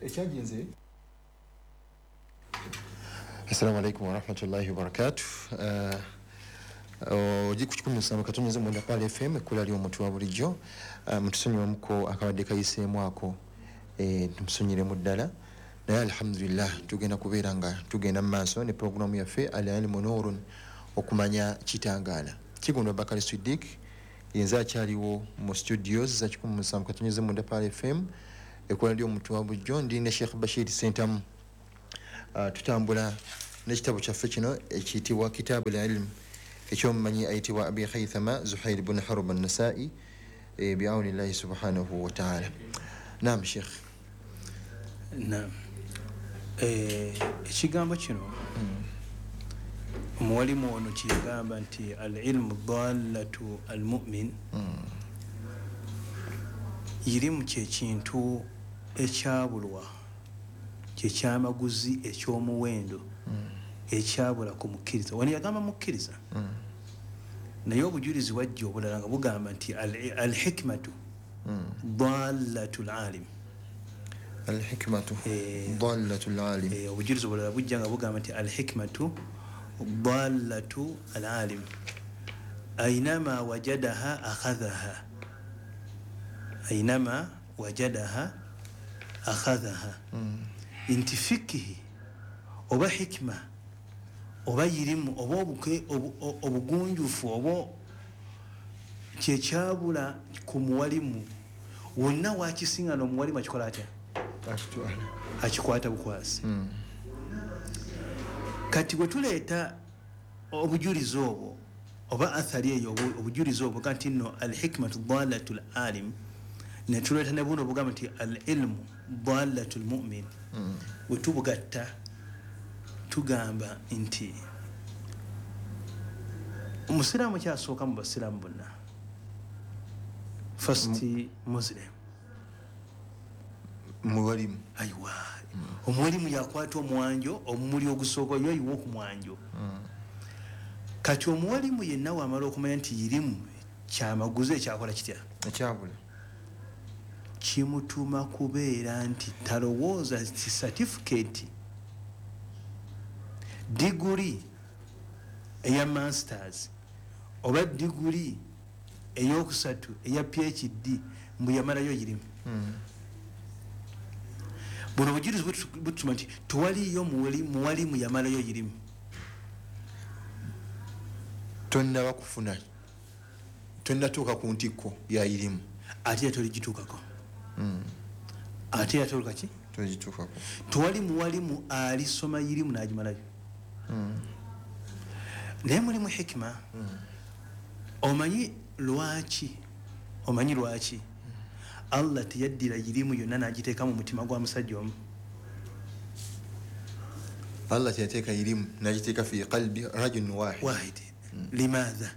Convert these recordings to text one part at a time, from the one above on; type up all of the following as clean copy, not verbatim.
Ekyagenze. Assalamu alaikum warahmatullahi wabarakatuh. Ogi ku 107.9 Pale FM, ekkula ly'omuntu wa bulijjo. Mutusonyiwemuko akabadde kayiseemu ako, tumusonyiremu ddala, naye alhamdulillah tugenda kubeera nga tugenda mu maaso ne puroguramu yaffe Al Ilmu Nurun, okumanya kitangaala. Kigundwa Bakali Sidik yenze akyaliwo mu studios za 107.9 Pale FM, ekkula ly'omuntu wa bulijjo. Ndi ne Sheikh Bashir Sentamu. Tutambula n'ekitabo kyaffe kino ekiyitibwa Kitabu Ilm, ekyomumanyi ayitibwa Abi Khaythama Zuhair bun Harb an-Nasai, biaunillahi subhanahu wa ta'ala. Naam Sheikh. Naam. Ekigambo kino omuwalimu ono kiyagamba nti al-ilmu dallatu al-mu'min, irimu kyekintu ekyabulwa, kyekyamaguzi eky'omuwendo ekyabula ku mukkiriza. Wano yagamba mukkiriza, naye obujulizi wajja obulala nga bugamba nti al-hikmatu dallatu al-alim. Al-hikmatu dallatu al-alim. Obujulizi obulala bujja nga bugamba nti al-hikmatu dallatu al-alim ainama wajadaha akhadhaha, ainama wajadaha akhadhaha. Nti fikihi oba hikma oba yirimu oba obugunjufu oba kyekyabula ku muwalimu wonna wakisinga n'omuwalimu akikola atya? Akikwata bukwasi. Kati bwe tuleeta obujulizi obwo oba athari eyo, obujulizi obwo nti nno al-hikmatu dallatu al-alim, ne tuleeta ne buno obugamba nti al-ilmu dallatu al-mu'min, bwe tubugatta tugamba nti omusiraamu kyasooka mu basiraamu bonna, first Muslim muwalimu. Aiwa, omuwalimu yakwata omwanjo, omumuli ogusooka yo ayiwa ku mwanjo. Kati omuwalimu yenna wamala okumanya nti irimu kyamaguzi ekyakola kitya, ekyabula, kimutuma kubeera nti talowooza nti certificate, diguri eya masters oba diguri eyokusatu eya PhD mbu yamalayo irimu. Buno obujulizi butuma nti tewaliyo muwalimu yamalayo irimu. Tonnaba kufuna, tonnatuuka ku ntikko ya irimu, ate toligituukako. Ate yatoluka ki? Toligituukako. Tewali muwalimu alisoma irimu n'agimalayo. Naye mulimu hikima. Omanyi lwaki? Omanyi lwaki Allah teyaddira irimu yonna n'agiteeka mu mutima gwa musajja omu? Allah teyateeka irimu n'agiteeka fi qalbi rajulin wahid. Limadha?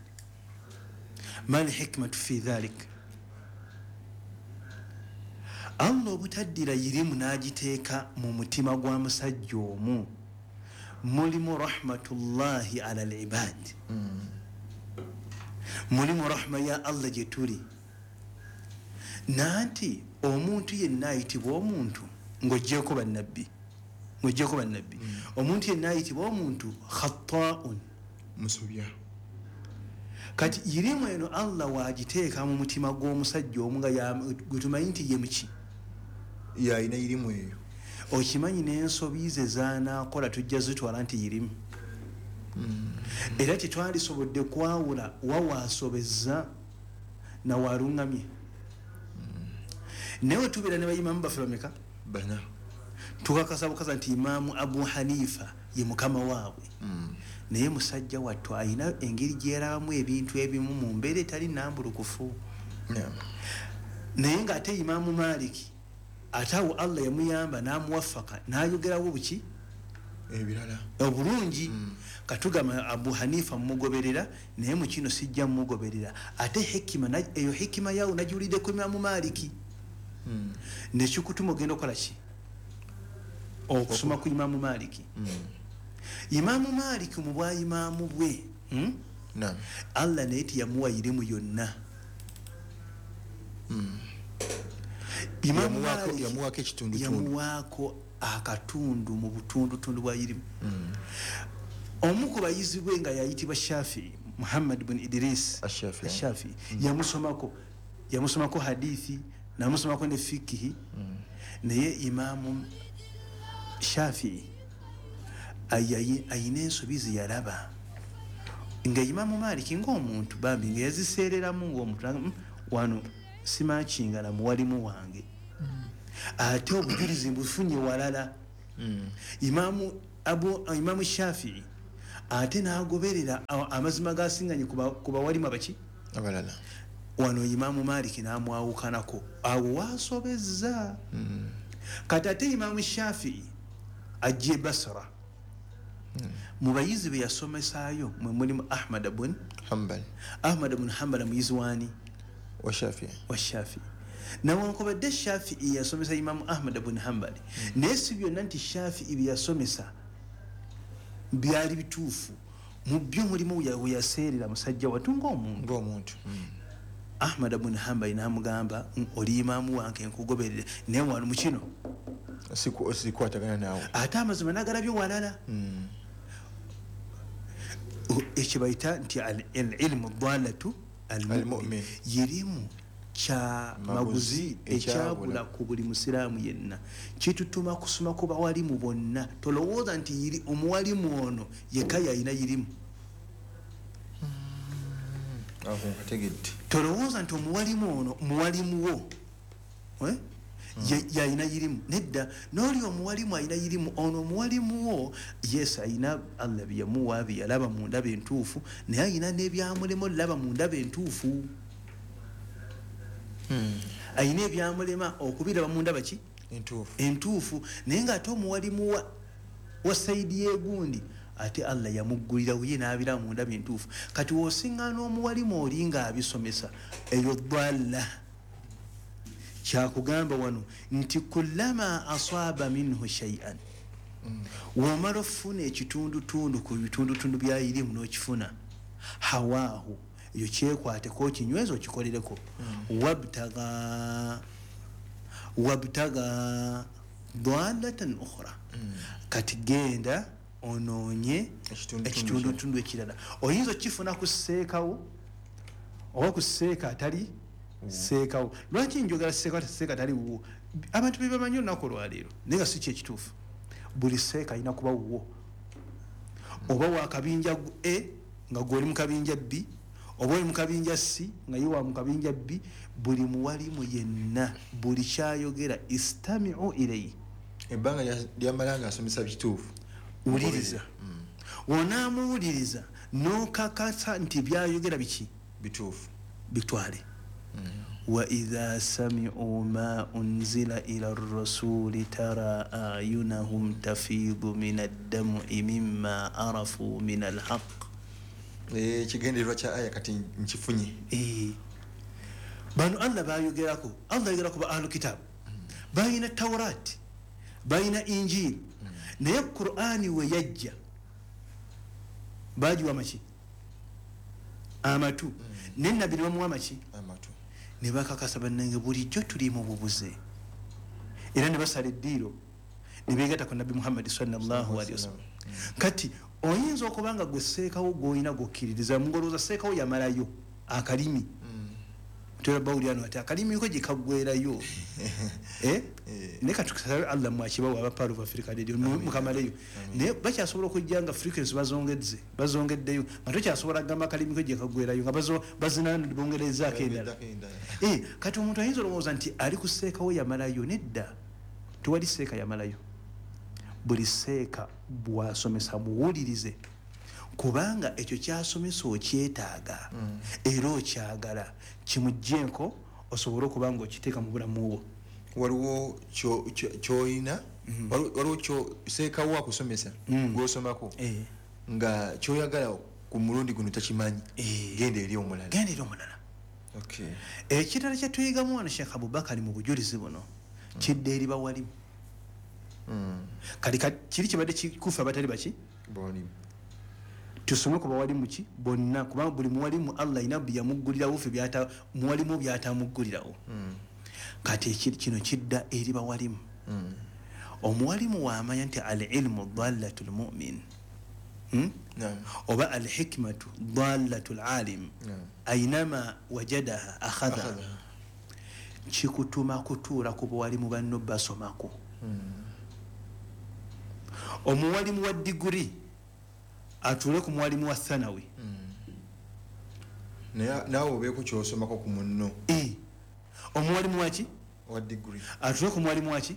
Ma al-hikmatu fi dhalik? Allah obutaddira irimu n'agiteeka mu mutima gwa musajja omu, mulimu rahmatullahi ala al-ibad, mulimu rahma ya Allah gye tuli. Nanti omuntu yenna ayitibwa omuntu ng'oggyeko bannabbi, ng'oggyeko bannabbi, omuntu yenna ayitibwa omuntu khatta'un, musobya. Kati irimu eno Allah waagiteeka mu mutima gw'omusajja omu nga gwe tumanyi nti ye muki, yalina irimu eyo. Okimanyi n'ensobi ze z'anaakola tujja zitwala nti irimu. Era tetwalisobodde kwawula wa waasobezza na waaluŋŋamye. Naye tubeera ne bayimamu baffe bameka? Bana. Tukakasa bukasa nti Imaamu Abu Hanifa ye mukama waabwe. Naye musajja wattu alina engeri gy'erabamu ebintu ebimu mu mbeera etali nnambulukufu. Naye ng'ate Imaamu Maliki ate awo Allah yamuyamba n'amuwafaka n'ayogerawo buki ebirala obulungi. Katugamba Abu Hanifa mmugoberera, naye mu kino sijja mmugoberera. Ate hikima eyo hikima yawo nagiwuliddeko Imaamu Maliki, nekikutuma ogenda okukola ki? Okusoma ku Imaamu Maliki. Imaamu Maliki mu bwa imaamu bwe, Allah naye teyamuwa irimu yonna. Yamuwaako ekitundutundu, yamuwaako akatundu mu butundutundu bwa irimu. Omu ku bayizi bwe nga yayitibwa Shafii, Muhammad bun Idris Ashafii, yamusomako hadithi, namusomako ne fikihi. Naye Imamu Shafii ayina ensobi ze yalaba nga Imamu Maliki ng'omuntu bambi nga yaziseereramu ng'omuntu, wano simakinga na muwalimu wange, ate obujulizi mbufunye walala. Imamu Shafii ate n'agoberera amazima gasinganye ku bawalimu abaki abalala. Wano Imamu Maliki n'amwawukanako, awo wasobezza. Kati ate Imamu Shafii ajja e Basra, mu bayizi be yasomesaayo mwe mulimu Ahmad bun Hanbal. Ahmad bun Hanbal muyizi waani? Wa Shafii. Wa Shafii. Nawankubadde Shafii yasomesa Imamu Ahmad bun Hanbal, naye si byonna nti Shafii bye yasomesa byali bituufu. Mu byo mulimu we yaseerera musajja wattu ng'omuntu. Ahmad bun Hanbal n'amugamba, oli imaamu wange nkugoberere, naye wano mu kino sikwatagana naawe. Ate amazima n'agalabye walala. Ekyo bayita nti al-ilmu dalatu al-mu'min, yirimu kya maguzi ekyabula ku buli musiraamu yenna. Kitutuma kusoma ku bawalimu bonna. Tolowooza nti yiri omuwalimu ono yekka yalina yirimu. Tolowooza nti omuwalimu ono muwalimu wo yalina yirimu. Nedda, n'oli omuwalimu alina yirimu, ono omuwalimu wo yes alina Allah byeyamuwa bye yalaba mu ndaba entuufu, naye alina n'ebyamulema olaba mu ndaba entuufu. Ayina ebyamulema okubiraba mu ndaba ki entuufu, naye ng'ate omuwalimu wa saidi y'egundi ate Allah yamuggulirawo ye n'abiraba mu ndaba entuufu. Kati w'osiŋŋaana omuwalimu oli ng'abisomesa eyo dalla. Kyakugamba wano nti kullama asaba minhu shay'an, womala ofuna ekitundutundu ku bitundutundu bya irimu n'okifuna, hawaahu, eyo kyekwateko okinyweza okikolereko. Wabtaga dalatan ukhra, kati genda onoonye ekitundutundu ekirala. Oyinza okifuna ku seekawo oba ku seeka atali seekawo. Lwaki njogera seeka atali wuwo? Abantu be bamanyi olunaku olwaleero, naye nga si kyekituufu. Buli seeka alina kuba wuwo, oba wa kabinja A nga gw'oli mu kabinja B, oba oli mu kabinja C nga ye wa mu kabinja B. Buli muwalimu yenna buli kyayogera istami'u ilayhi, ebbanga lyamala nga asomesa bituufu, wuliriza. Onaamuwuliriza n'okakasa nti byayogera biki bituufu, bitwale. Wa idha sami'u ma unzila ila rasuli tara ayunahum tafidu min ad-dam'i mimma arafu min al-haqq. Ekigendererwa kya aya kati nkifunye. Bano Allah bayogerako, Allah ayogerako ba ahlu kitab, bayina Tawrat, bayina Injil, naye Qur'ani we yajja bagiwa maki amatu, ne nabbi ne bamuwa maki amatu, ne bakakasa bannange bulijjo tuli mu bubuze, era ne basala eddiiro ne beegatta ku Nabbi Muhammad sallallahu alaihi wasallam. Kati oyinza okuba nga gwe seekawo gw'olina gw'okkiririza, ng'olowooza seekawo yamalayo akalimi. Tera bawulira ati akalimi ko gye kaggwerayo. Naye katusabe Allah mwakibawa aba Pearl of Africa Radio mukamaleyo, naye bakyasobola okujja nga frequency bazongeddeyo nga tokyasobola kugamba akalimi ko gye kaggwerayo nga bazina bongerezaako endala. Kati omuntu ayinza olowooza nti ali ku seekawo yamalayo. Nedda, tewali seeka yamalayo. Buli seeka bw'asomesa muwulirize, kubanga ekyo kyasomesa okyetaaga era okyagala, kimugyenko osobole okuba nga okiteeka mu bulamu bwo. Waliwo kyoyina, waliwo seekawo akusomesa gw'osomako nga kyoyagala ku mulundi guno takimanyi, genda eri omulala. Genda eri omulala. Ekirala kye tuyigamu wano Sheikh Abubakari mu bujulizi buno kidda eri bawalimu. Kali kiri kibadde kikufa abatali baki bawalimu. Tusome ku bawalimu ki bonna, kubanga buli muwalimu Allah alina bye yamuggulirawo, ffe muwalimu by'atamuggulirawo. Kati kino kidda eri bawalimu. Omuwalimu wamanya nti al ilmu dallatu lmumin, oba al hikmatu dallatu lalim, ainama wajadaha akhadhaha, kikutuma kutuula ku bawalimu banno basomako. Omuwalimu wa diguri atuule ku muwalimu wa thanawi, naawe obeeko kyosomako ku munno. Omuwalimu waki wa diguri atuule ku muwalimu waki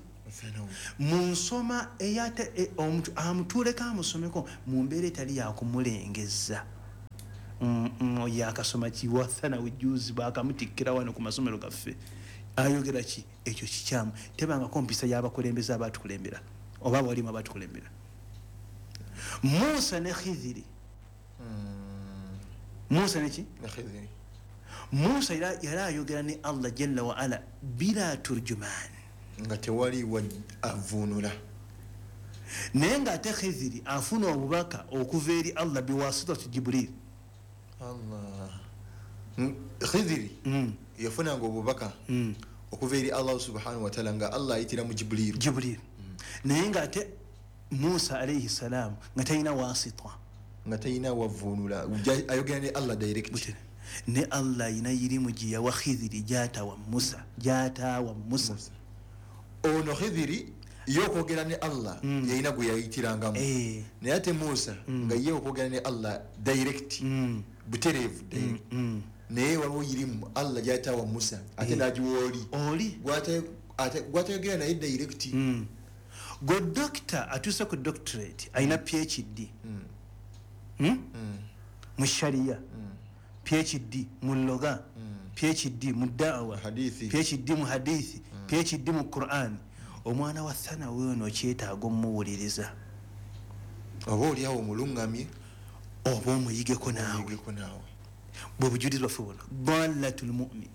mu nsoma eyate omuntu amutuuleko amusomeko mu mbeera etali yakumulengeza. Yakasoma ki wa thanawi juzi bakamutikkira wano ku masomero gaffe, ayogera ki? Ekyo kikyamu. Tebangako mpisa y'abakulembeze abatukulembera oba abawalimu abatukulembera. Musa ne Khidhiri, Musa neki? Musa yali ayogera ne Allah jalla wa ala bila turjuman, nga tewali avvuunula, naye ng'ate Khidhiri afuna obubaka okuva eri Allah biwasitati Jibril. Allah Khidhiri yafunanga obubaka okuva eri Allah subhanahu wa ta'ala nga Allah ayitira mu Jibril. Naye ng'ate Musa alayhi salam nga talina wasita, nga talina wavvuunula, ayogera ne Allah direct. Ne Allah ayina irimu gye yawa Khidhiri gy'atawa Musa, gy'ataawa Musa. Ono Khidhiri ye okwogera ne Allah yalina gwe yayitirangamu, naye ate Musa nga ye okwogera ne Allah direct, butereevu direct. Naye waliwo irimu Allah gy'ataawa Musa ate n'agiwa oli gw'atayogera naye direct. Gwe doctor atuuse ku doctorate alina PhD mu sharia, PhD mu lugha, PhD mu da'wa, PhD mu hadithi, PhD mu Quran. Omwana wa thanawi ono kyetaaga omuwuliriza, oba oliawo omulungamye oba omuyigeko naawe. Bwe bujulizi bwaffe buno, dallatul mu'min.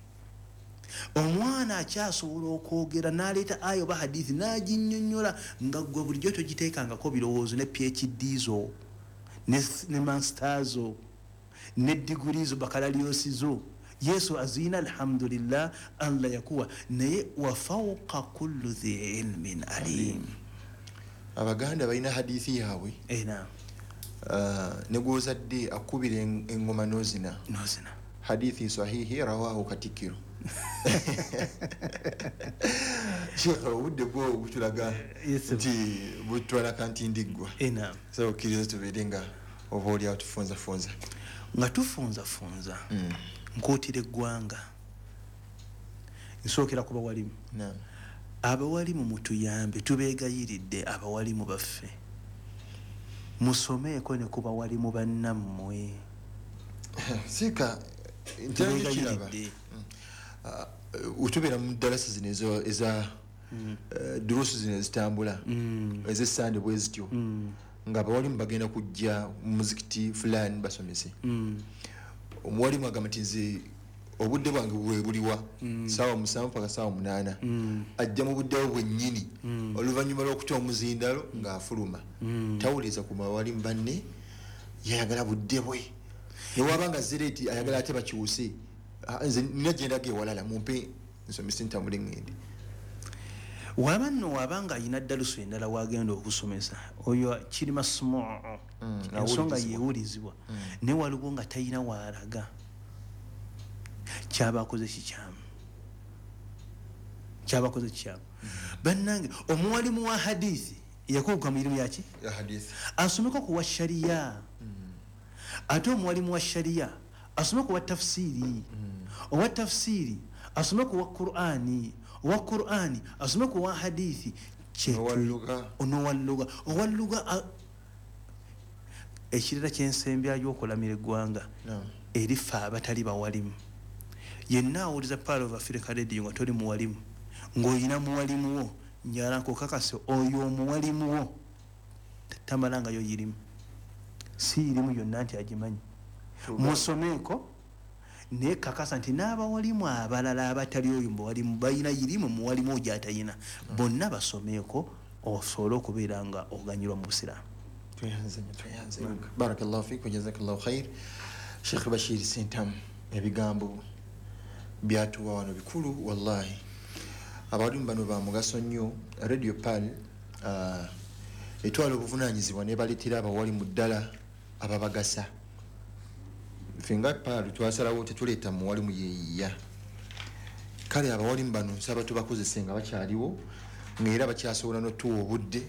Omwana akyasobola okwogera n'aleeta aya oba hadithi n'aginnyonnyola nga ggwe bulijjo togiteekangako birowoozo ne PhD zo ne master zo ne diguri zo bakalaliyosi zo. Yesu azina alhamdulillah, Allah yakuwa, naye wa fawqa kulli dhi ilmin alim. Abaganda balina hadithi yaabwe ne gw'ozadde akubira engoma n'ozina. Hadithi sahihi rawahu Katikkiro. Sheikh, obudde bwo butulaga nti butwala kantindiggwa. So okkiriza tubeere nga oba oli awo tufunzafunza. Nga tufunzafunza, nkuutira eggwanga, nsookera ku bawalimu. Abawalimu mutuyambe, tubeegayiridde abawalimu baffe, musomeeko ne ku bawalimu bannammwe. Sika ntubeegayiridde. Utubeera mu ddalasa zino eza durusu zino ezitambula ez'essande bwe zityo, nga abawalimu bagenda kujja mu muzikiti fulani basomese. Omuwalimu agamba nti nze obudde bwange bwe buliwa 7:00 paka 8:00, ajja mu budde bwe bwennyini oluvannyuma lw'okuta omuzindalo ng'afuluma, tawuliza ku bawalimu banne, yayagala budde bwe. Newaba nga zireeti ayagala ate bakyuse, nze nina gye ndaga ewalala mumpe nsomese ntambule ŋŋende. Waba nno wabanga ayina ddalusu endala wagenda okusomesa, oyo kiri masmuu, ensonga yeewulizibwa, naye waliwo nga talina waalaga, kyaba akoze kikyamu, kyaba akoze kikyamu. Bannange omuwalimu wa hadithi yakuguka mu irimu yaki asomeko ku wa sharia, ate omuwalimu wa sharia asome ku wa tafsiri, owa tafsiri asome ku wa Qur'ani, owa Qur'ani asome ku wa hadithi, onowa lugha. Ekirala kyensembyayo okulamira eggwanga erifa abatali bawalimu. Yenna awuliza Pearl of Africa Radio nga toli muwalimu, ng'olina muwalimu wo, njala nkukakase oyo omuwalimu wo tamalangayo yirimu, si irimu yonna nti agimanyi. Musomeeko naye kakasa nti n'abawalimu abalala abatali oyo muwalimu balina irimu, muwalimu oyo gy'atayina, bonna basomeeko osobole okubeera nga oganyulwa mu busiraamu. Barakallahu fiik wa jazakallahu khair. Sheikh Bashir Ssentamu, ebigambo byatuwa wano bikulu wallahi. Abawalimu bano ba mugaso nnyo. Radio Pearl etwala obuvunaanyizibwa nebaleetera abawalimu ddala ababagasa. Ffe nga Pearl twasalawo tetuleeta muwalimu yeeyiya. Kale abawalimu bano nsaba tubakozese nga bakyaliwo, ng'era bakyasobola n'otuwa obudde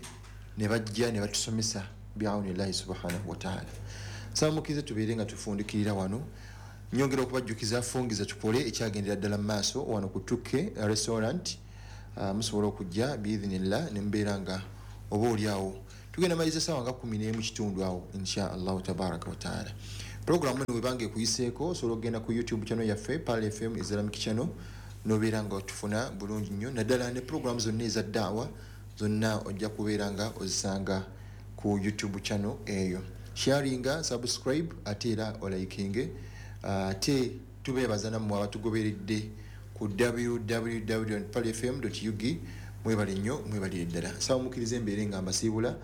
ne bajja ne batusomesa biawunillahi subhanahu wataala. Nsaba mukkirize tubeere nga tufundikirira wano. Nyongera okubajjukiza fungiza tukole ekyagendera ddala mu maaso wano ku Tuke Restaurant. Musobola okujja biidhinillah ne mubeera nga oba oli awo. Tugenda maliza essaawa nga 11:15 awo insha allahu tabaraka wataala. Puroguramu eno webanga ekuyiseeko osobola okugenda ku YouTube channel yaffe Pearl FM Islamic Channel n'obeera nga otufuna bulungi nnyo, naddala ne puroguramu zonna eza daawa zonna ojja kubeera nga ozisanga ku YouTube channel eyo. Sharinga, subscribe ate era olikinge. Ate tubeebaza nammwe abatugoberedde ku www.pearlfm.ug. Mwebale nnyo, mwebalire ddala. Nsaba mukkirize embeere nga mbasiibula.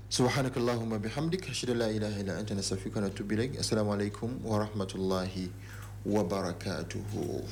Subhanaka Allahumma bihamdik, ashhadu an la ilaha illa anta, nastaghfiruka wa natubu ilaik. Assalamu alaikum wa rahmatullahi wa barakatuhu.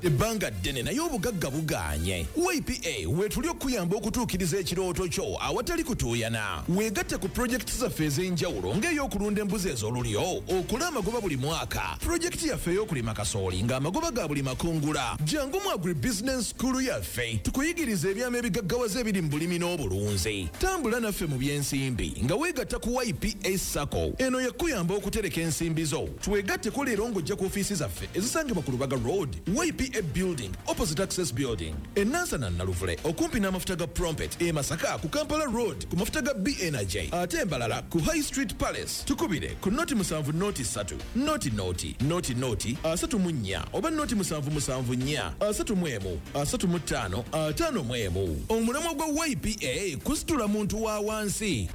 Ebbanga ddene naye obugagga bugaanye. YPA weetuli okuyamba okutuukiriza ekirooto kyo awatali kutuuyana. Weegatte ku pulojekiti zaffe ez'enjawulo ng'ey'okulunda embuzi ez'olulyo, okola amagoba buli mwaka, pulojekiti yaffe ey'okulima kasooli ng'amagoba ga buli makungula. Jangu mu Agribusiness School yaffe tukuyigiriza ebyama ebigaggawaza ebiri mu bulimi n'obulunzi. Tambula naffe mu by'ensimbi nga weegatta ku YPA SACCO. Eno yakuyamba okutereka ensimbi zo. Twegatteko leero ng'ojja ku ofiisi zaffe ezisangibwa ku Lubaga Road, YPA Building, opposite Access Building, e Nansana Naluvule, okumpi n'amafuta ga Prompet, e Masaka ku Kampala Road ku mafuta ga B Energy, ate Mbarara ku High Street Palace. Tukubire ku 0 7 0 3 0 0 0 0 34 oba 0 7 7 4 31 35 51. Omulamwa gwa YPA kusitula muntu wa wansi.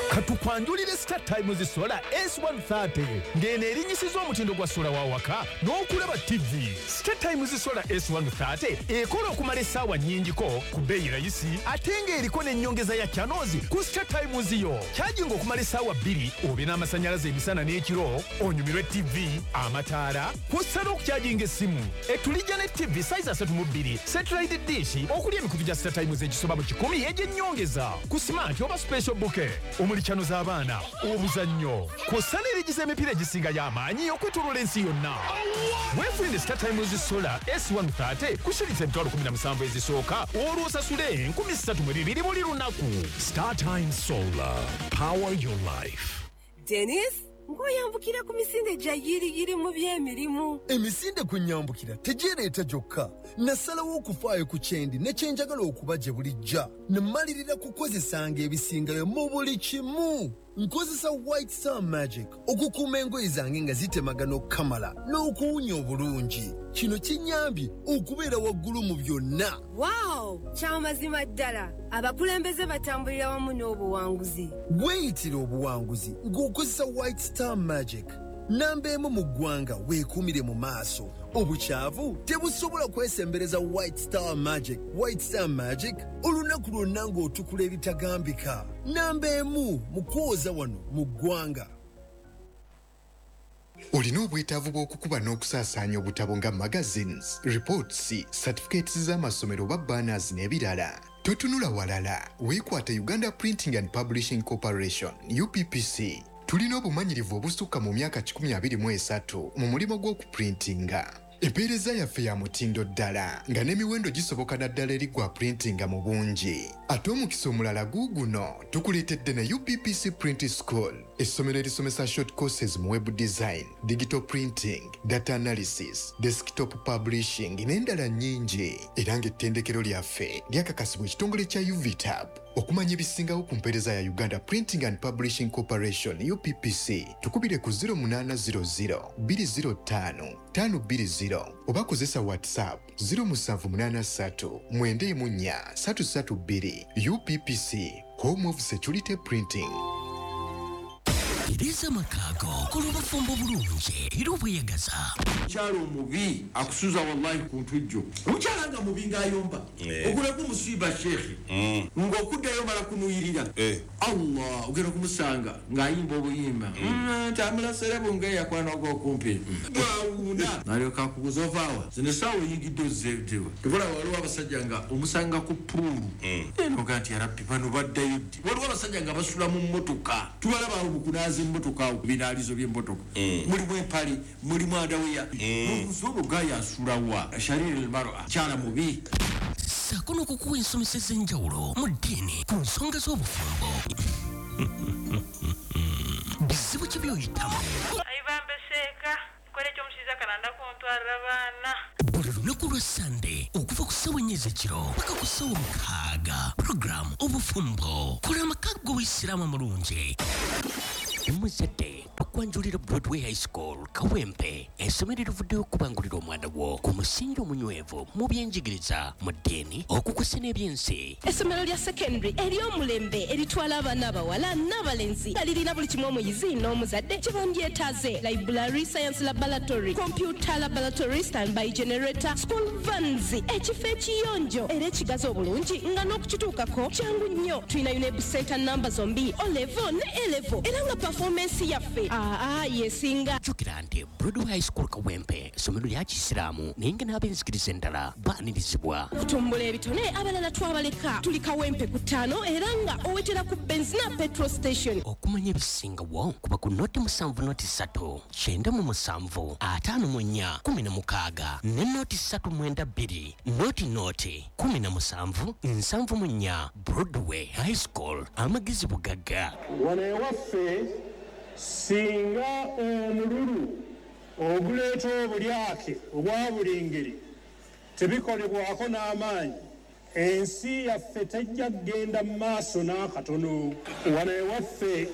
Katukwanjulire Star Times Solar S130 ng'eno erinyisiza omutindo gwa sola wa waka n'okulaba TV. Star Times Solar S130 ekola okumala essaawa nnyingiko ku bbeeyi rayisi, ate ng'eriko n'ennyongeza ya channels ku Star Times yo. Kyajinga okumala essaawa 2 obe n'amasannyalaze emisana n'ekiro, onyumirwe TV, amataala, kw'ossa n'okukyajinga essimu. Etulijja ne TV size 32, satellite dish okuli emikutu gya Star Times egisoba mu 100 egy'ennyongeza ku smart oba special bouquet omuli channel z'abaana, obuzannyo, kw'ossa n'erigiza emipiira egisinga y'amaanyi okwetooloola ensi yonna. Weefunire Star Times Solar S130 ku shilingi 17,000 ezisooka, olwo osasule 3,200 buli lunaku. Star Times Solar. Power your life. Denis, ng'oyambukira ku misinde gya yiriyiri mu by'emirimu. Emisinde kwe nyambukira tegyereeta gyokka. Nasalawo okufaayo ku kyendi ne kyenjagala okuba gye bulijja, ne mmalirira kukozesanga ebisingayo mu buli kimu. Nkozesa White Star Magic okukuuma engoye zange nga zitemagana okukamala n'okuwunya obulungi. Kino kinnyambye okubeera waggulu mu byonna. Waawo, kyamazima ddala abakulembeze batambulira wamu n'obuwanguzi. Weeyitira obuwanguzi ng'okozesa White Star Magic. Namba emu mu ggwanga, weekuumire mu maaso. Obukyavu tebusobola kwesembereza White Star Magic. White Star Magic, olunaku lwonna ng'otukula ebitagambika. Namba emu mu kwoza wano mu ggwanga. Olina obwetaavu bw'okukuba n'okusaasaanya obutabo nga magazines, reports, certificates z'amasomero oba banners n'ebirala? Totunula walala, weekwate Uganda Printing and Publishing Corporation, UPPC. Tulina obumanyirivu obusukka mu myaka 123 mu mulimu gw'okuprintinga. Empeereza yaffe ya mutindo ddala nga n'emiwendo gisoboka, naddala eri gwa printinga mu bungi. Ate omukisa omulala guuguno, tukuleetedde ne UPPC Print School, essomero erisomesa short courses mu web design, digital printing, data analysis, desktop publishing n'endala nnyingi, era ng'ettendekero lyaffe lyakakasibwa ekitongole kya UVTAB. Okumanya ebisingawo ku mpeereza ya Uganda Printing and Publishing Corporation, UPPC, tukubire ku 0800 205 520 oba kozesa WhatsApp 0783 94 332. UPPC, home of security printing. Tereza amaka go, kola obufumbo bulungi era obweyagaza. Omukyala omubi akusuza wallahi ku ntujjo. Omukyala nga mubi ng'ayomba, ogulako omusiiba sheekhe, ng'okuddayo mala kunuyirira. Allah, ogenda kumusanga ng'ayimba obuyimba. Ntamulasere bunge yakwana ogw'okumpi. Bwawuuna. N'alyoka akubuuza ovaawa. Zino essaawa oyingidde ozzeetewa. Tebula waliwo abasajja nga omusanga ku puulu. Eno nga nti yarabbi bano baddayo ddi. Waliwo abasajja nga basula mu mmotoka. Tubalaba awo mu kunaaza emmotoka awo ku binaalizo by'emmotoka. Mulimu empale, mulimu underwear. N'obuuza olwo gaaya asula wa? Shariri al-mar'a, kyala mubi. Ssaako n'okukuwa ensomesa ez'enjawulo mu ddiini ku nsonga z'obufumbo. Bizibu ki by'oyitamu? Ayibambe seeka, nkola ekyomushiza kananda kuntwarira abaana. Buli lunaku lwa Sande okuva ku ssaawa 4 ez'ekiro paka ku ssaawa 6, puroguramu Obufumbo, kola amaka g'Obuyisiraamu amulungi. Muzadde okwanjulira Broadway High School Kawempe, essomero erivuddeyo okubangulira omwana wo ku musingi omunywevu mu byenjigiriza, mu ddiini, okukusa n'ebyensi. Essomero lya secondary ery'omulembe eritwala abaana abawala n'abalenzi nga lirina buli kimu omuyizi n'omuzadde kye bandyetaaze: library, science laboratory, computer laboratory, standby generator, school vans, ekifo ekiyonjo era ekigazi obulungi nga n'okukituukako kyangu nnyo. Tulina UNEB center namba zombi, O level ne A level, era nga performance yaffe aa yesinga. Jjukira nti Broadway High School Kawempe essomero lya Kisiraamu, naye nga n'ab'enzikiriza endala baanirizibwa. Okutumbula ebitone abalala twabaleka. Tuli Kawempe ku 5 era nga owetera ku Benzina petrol station. Okumanya ebisingawo kuba ku 070 3 97 54 16 ne 0 392 00 17 74. Broadway High School, amagezi bugagga. Wano ewaffe singa omululu oguleeta obulyake obwa buli ngeri tebikolebwako n'amaanyi, ensi yaffe tejja kugenda mu maaso n'akatono. Wano ewaffe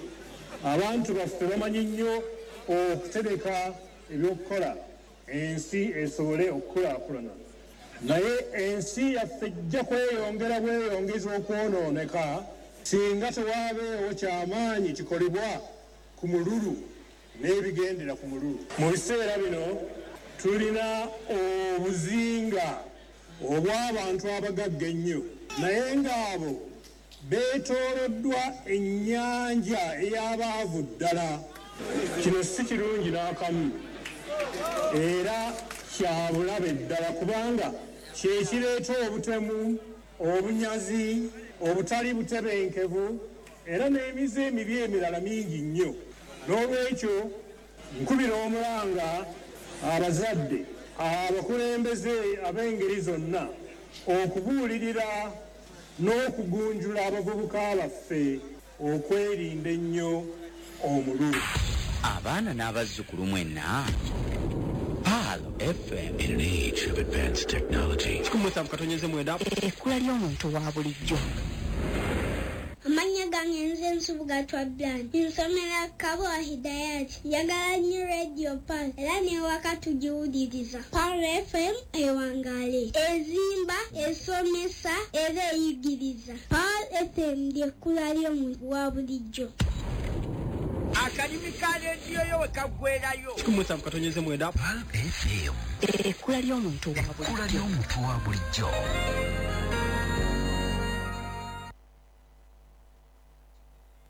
abantu baffe bamanyi nnyo okutereka ebyokukola ensi esobole okukulaakulana, naye ensi yaffe ejja kweyongera bweyongeza okwonooneka singa tewaabeewo kyamaanyi kikolebwa ku mululu n'ebigendera ku mululu. Mu biseera bino tulina obuzinga obw'abantu abagagga ennyo, naye ng'abo beetooloddwa ennyanja ey'abaavu ddala. Kino si kirungi n'akamu era kya bulabe ddala, kubanga kye kireeta obutemu, obunyazi, obutali butebenkevu era n'emize emibi emirala mingi nnyo. N'olwekyo nkubira omulanga abazadde, abakulembeze ab'engeri zonna okubuulirira n'okugunjula abavubuka baffe okwerinda ennyo omululu. Abaana n'abazzukulu mwenna, Pearl FM. In an age of advanced technology. 17.9. Ekkula ly'omuntu wa bulijjo. Amannya gange nze Nsubuga Twablan. Nsomera Kabowa Hidayat. Njagala nnyo Radio Pearl era n'ewaka tugiwuliriza. Pearl FM ewangaale. Ezimba, esomesa era eyigiriza. Pearl FM ly'ekkula ly'omuntu wa bulijjo. Akalimi ka rediyo yo we kaggwerayo. 17.9. Pearl FM. Ekkula ly'omuntu wa bulijjo. Ekkula ly'omuntu wa bulijjo.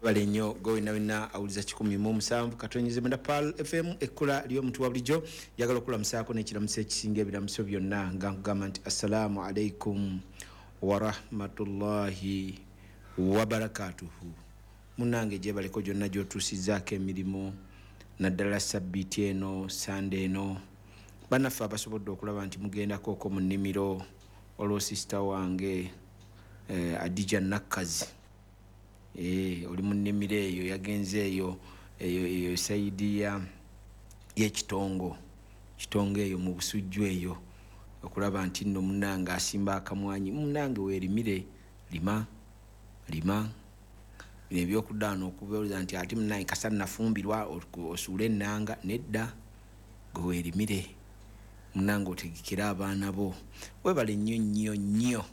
Bale nnyo gwe wena awuliza 17.9 Pearl FM, ekkula ly'omuntu wa bulijjo. Njagala okulamusaako n'ekiramuso ekisinga ebiramuso byonna nga nkugamba nti assalaamu alaikum warahmatullahi wabarakatuhu. Munnange gyebaleko gyonna gy'otuusizzaako emirimu, naddala sabbiiti eno, Sande eno. Bannaffe abasobodde okulaba nti mugendako okwo mu nnimiro, olwo sisita wange Adija Nakkazi, oli mu nnimiro eyo, yagenze eyo eyo sayidi y'ekitongo, kitongo eyo mu Busujju eyo, okulaba nti nno munnange asimba akamwanyi. Munnange weerimire, lima lima. Bino ebyokuddaano okubuuza nti ate munnange kasa nafumbirwa osuule ennanga, nedda, gwe weerimire munnange otegekere abaana bo. Weebale nnyo nnyo nnyo.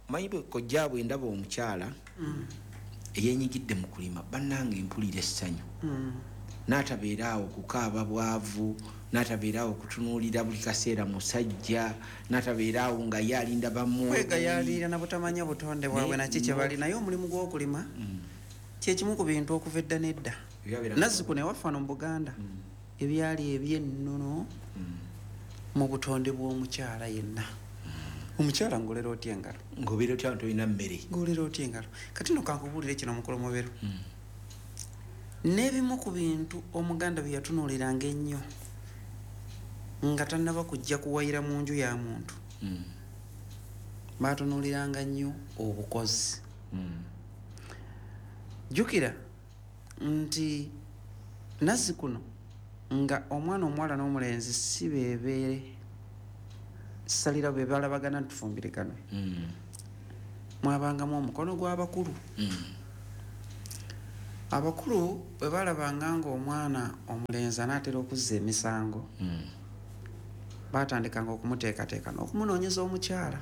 Omanyi kojja bwe ndaba omukyala eyenyigidde mu kulima, bannange mpulira essanyu. N'atabeera awo kukaaba bwavu, n'atabeera awo kutunuulira buli kaseera musajja, n'atabeera awo nga ye alinda bamu Kwegayaalira na butamanya butonde bwabwe naki kye bali. Naye omulimu gw'okulima kyekimu ku bintu okuva edda n'edda. Nazzikuno ewaffe wano mu Buganda, ebyali ebyennono mu butonde bw'omukyala yenna. Omukyala ng'olera otya engalo? Ng'obeera otya tolina mmere? Ng'olera otya engalo? Kati nno kankubuulire kino, mukulu Muberu. N'ebimu ku bintu Omuganda bye yatunuuliranga ennyo nga tannaba kujja kuwayira mu nju ya muntu, baatunuuliranga nnyo obukozi. Jjukira nti nazzikuno nga omwana omuwala n'omulenzi si beebeere salira be balabagana ntufumbiriganwe, mwabangamu omukono gw'abakulu. Abakulu bwe balabanga ng'omwana omulenzi anaatera okuzza emisango, batandikanga okumuteekateeka n'okumunoonyeza omukyala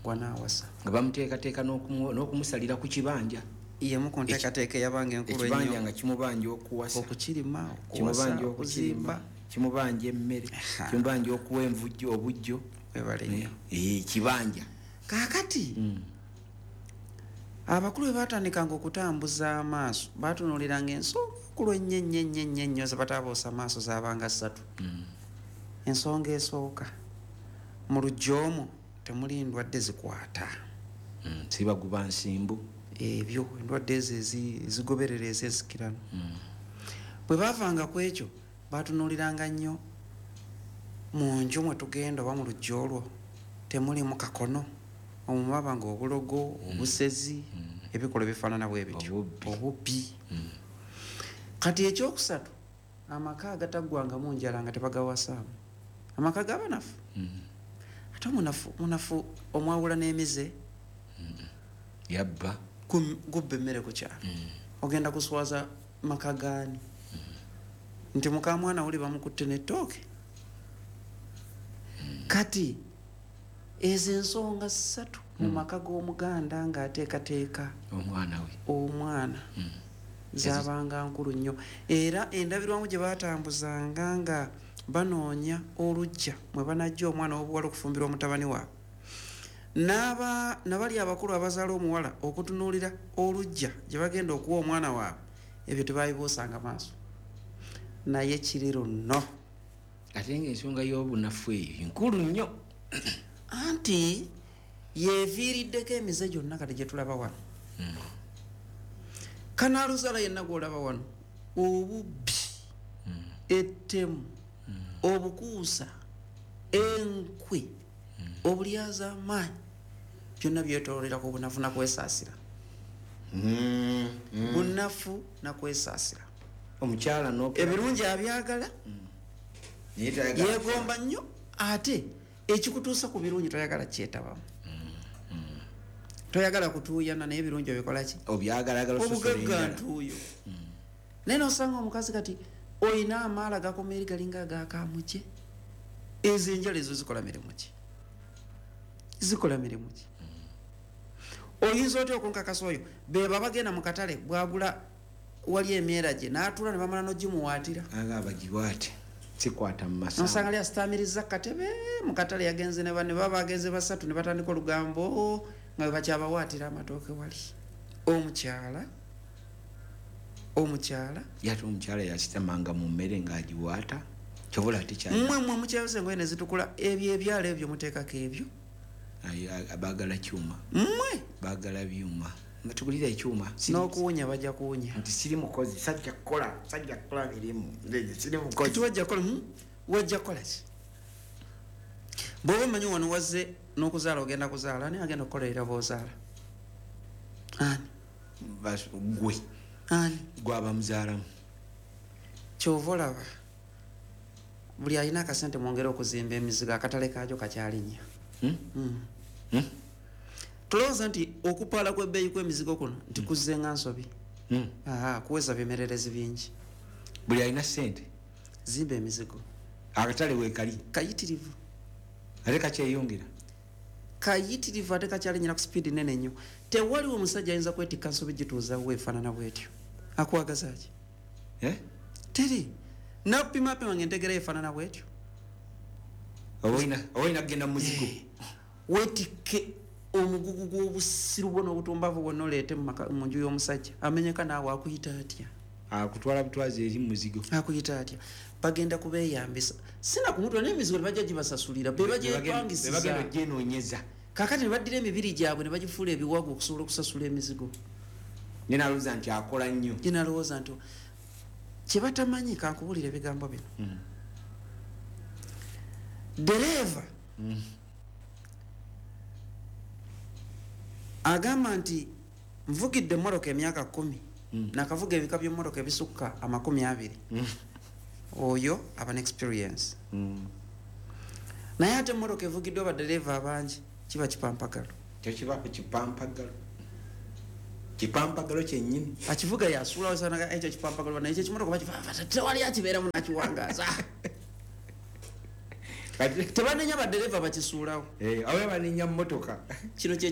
gw'anaawasa. Nga bamuteekateeka n'okumusalira ku kibanja. Yemu ku nteekateeka eyabanga enkulu ennyo. Ekibanja nga kimubanja okuwasa, okukirima, okuwasa, okuzimba, kimubanja emmere, kimubanja okuwa envujjo, obujjo. Webale nnyo. Kibanja. Kaakati abakulu bwe batandikanga okutambuza amaaso, batunuuliranga ensonga enkulu ennyo ennyo ennyo ennyo ennyo ze bataabuusa maaso zaabanga ssatu. Ensonga esooka, mu luggya omwo temuli ndwadde zikwata. Sibaguba nsimbu. Ebyo endwadde ezo ezigoberera ez'ensikirano. Bwe baavanga ku ekyo, batunuuliranga nnyo mu nju mwe tugenda oba mu luggya olwo temulimu kakono, omwo mwabanga obulogo, obusezi, ebikolwa ebifaanana bwe bityo, obubbi. Kati ekyokusatu, amaka agataggwangamu njala nga tebagawasaamu, amaka g'abanafu. Ate omunafu omwawula n'emize. Yabba. Gubba emmere ku kyalo. Ogenda kuswaza maka gaani? Nti mukamwana wuli bamukutte n'ettooke. Kati ezo ensonga ssatu mu maka g'Omuganda ng'ateekateeka omwana we, omwana zaabanga nkulu nnyo. Era endabirwamu gye baatambuzanga nga banoonya oluggya mwe banajja omwana w'obuwala okufumbirwa omutabani waabwe, nabali abakulu abazaala omuwala okutunuulira oluggya gye bagenda okuwa omwana waabwe, ebyo tebabibuusanga maaso. Naye kiri luno. Ate ng'ensonga y'obunafu eyo nkulu nnyo. Anti yeeviiriddeko emize gyonna kati gye tulaba wano. Kanaaluzaala yenna gw'olaba wano, obubbi, ettemu, obukuusa, enkwe, obulyazaamaanyi, byonna byetooloolera ku bunafu na kwesaasira. Bunafu na kwesaasira. Omukyala ebirungi abyagala, yeegomba nnyo, ate ekikutuusa ku birungi toyagala kyetabamu. Toyagala kutuuyana, naye ebirungi obikola ki? Obugagga ntuuyo. Naye n'osanga omukazi kati oyina amaala gakoma eri galinga ag'akaamukye. Ezo enjala ezo zikola mirimu ki? Zikola mirimu ki? Oyinza otya okunkakasa oyo? Beba bagenda mu katale bwagula wali emyera gye n'atuula ne bamala n'ogimuwaatira. Aga bagiwaate. Sikwata mu masango. Nosanga ali asitaamiriza katebe mu katale yagenze ne banne baba bagenze basatu ne batandika olugambo nga bwe bakyabawaatira amatooke wali. Omukyala Yate omukyala yasitamanga mu mmere ng'agiwaata, kyobola ate kyali. Mmwe mukyayoza engoye ne zitukula, ebyo ebyalo ebyo muteekako ebyo. Baagala kyuma. Mmwe baagala byuma. Nga tugulira ekyuma. N'okuwunya bajja kuwunya. Nti siri mukozi, sajja kukola mirimu. Siri mukozi. Kati wajja kukola, wajja kukola ki? Bw'oba omanyi wano wazze n'okuzaala ogenda kuzaala, ani agenda okukolerera bw'ozaala? Ani? Gwe. Ani? Gw'aba muzaalamu. Ky'ova olaba buli alina akasente mwongere okuzimba emizigo, akatale kaagyo kakyalinnya. Tulowooza nti okupaala kw'ebbeeyi kw'emizigo kuno nti kuzze nga nsobi. Kuweza bimererezi bingi. Buli alina ssente zimba emizigo. Akatale weekali kayitirivu. Ate kakyeyongera. Kayitirivu ate kakyalinyira ku sipiidi nene nnyo. Tewaliwo omusajja ayinza kwetikka nsobi gituuza we efaanana bw'etyo. Akwagaza ki? Teri nakupimapima nga entegera efaanana bwetyo. Oba olina kugenda muzigo. Wetikke omugugu gw'obusiru bwo n'obutumbavu bwonna, oleete mu nju y'omusajja amenyeka, naawe akuyita atya? Akutwala butwazi eri muzigo. Akuyita atya? Bagenda kubeeyambisa, sina kumutwa n'emizigo tebajja gibasasulira, be bagyepangisiza. Bagenda ogyenoonyeza. Kakati ne baddira emibiri gyabwe ne bagifuula ebiwago okusobola okusasula emizigo. Ye nalowooza nti akola nnyo. Ye nalowooza nti kyebatamanyi, kankubulira ebigambo bino. Dereeva agamba nti nvugidde emmotoka emyaka 10, nakavuga ebika by'emmotoka ebisukka 20. Oyo aba ne experience. Naye ate emmotoka evugiddwa badereeva abangi kiba kipampagalo. Kyo kiba kipampagalo, kipampagalo kyennyini. Akivuga yasuulawo sanaga ekyo kipampagalo, naye ekyo ekimotoka bakiva tewali akibeeramu nakiwangaaza. Tebanenya badereeva bakisuulawo. Awe banenya mmotoka. Kino kye.